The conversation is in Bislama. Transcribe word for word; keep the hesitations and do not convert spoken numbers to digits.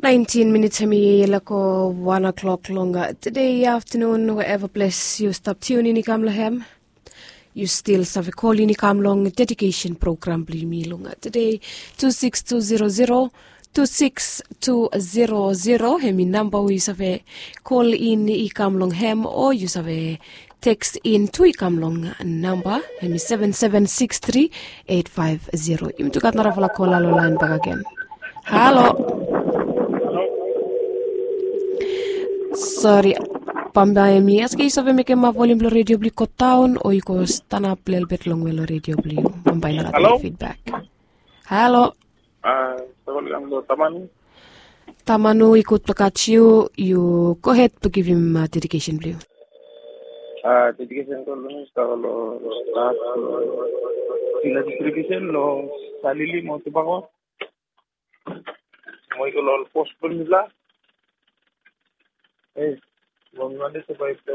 Naentin minits hemi yet long go wan o'clock long tede aftenun, wherever ples yu stap tiun in i kam long hem. Yu stil save kol in i kam long dedikesen program blong yumi long tede, tu siks tu zero zero, tu siks tu zero zero hemi namba we yu save kol in i kam long hem, o yu save teks in tu i kam long namba hemi seven seven six three eight five zero. Yumi tu gat narafala kola long laen bakegen. Halo. Sori, bambae mi askem yu save mekem volium blong redio blong yu go daon o yu go stanap lelebet longwe long redio blong yu. Bambae nara fidbak. Halo. Tamanu. Tamanu, i gud blong gat yu. Yu gohed blong givim dedikesen blong yu. Dedikesen blong mi i stap long, stap long, i la distribisen long Salili mo Tubako. Mo i go long ol bos blong mifala. Ei, mo mi wantem survive.